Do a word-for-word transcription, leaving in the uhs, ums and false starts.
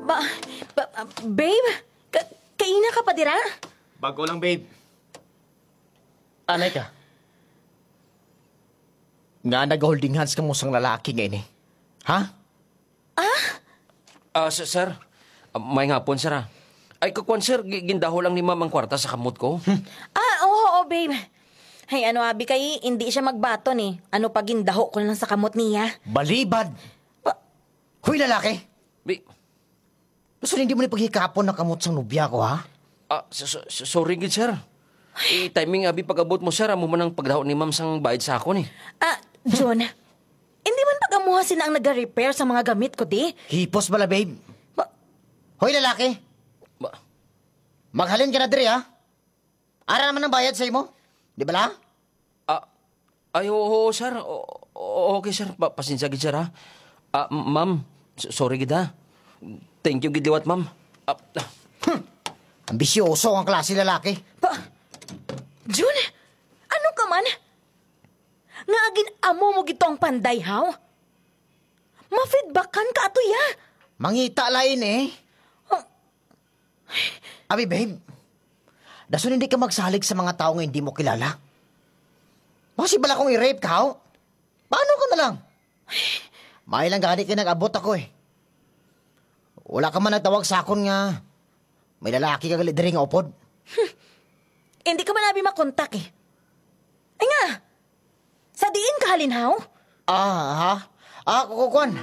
Ba, ba, ah, babe? Ka, kaina ka pa dira? Bago lang, babe. Anay ka? Nga nag-holding hands ka mo sang lalaki nga ini? Ha? Ah? Ah, s-, sir. Ah, may ngapon, sir, ah. Ay, kakuan, sir, gi-, gindaho lang ni ma'am ang kwarta sa kamot ko. Ah, oo, oo, babe. Ay, ano, abi kay, hindi siya magbaton eh. Ano pa gindaho ko lang sa kamot niya? Balibad! Pa- Hoy, lalaki! Bi- Gusto hindi mo ni paghikapon ang kamot sang nobya ko, ha? Ah, so- so- so- sorry gid, sir. I-timing abi pag-abot mo, sir. Amo man ang pagdaho ni ma'am sang bayad sa akon, eh. Ah, John, hindi man pag-amuha sina ang naga-repair sa mga gamit ko, di? Hipos bala, babe. Ba- Hoy, lalaki! Ba- Maghalin ka na diri, ha? Ara naman ang bayad sa imo. Di bala? Ah, ay, oo, oo, sir. O- o- okay, sir. Pa- pasensya gid, sir, ha? Ah, m- ma'am, s- sorry gid, ha? Thank you gid liwat, ma'am. Ah, ah. Ambisyoso ang klase lalaki. Pa- Jun, ano ka man? Nga agin amo mo gito ang panday, haw? Ma-feedbackan ka ato, ya? Mangita lain, eh. Oh. Abi, babe, dason hindi ka magsalig sa mga tawo nga hindi mo kilala. Basi bala kung i-rape ka, haw? Paano ka na lang? May lang gani kay nag-abot ako, eh. Wala ka man nagtawag sa akon nga may lalaki ka gali diri nga upod. Hindi ka man abi makontak, eh. Ay nga, sa diin ka halin, haw? Ah, ha? Ah, kukuan.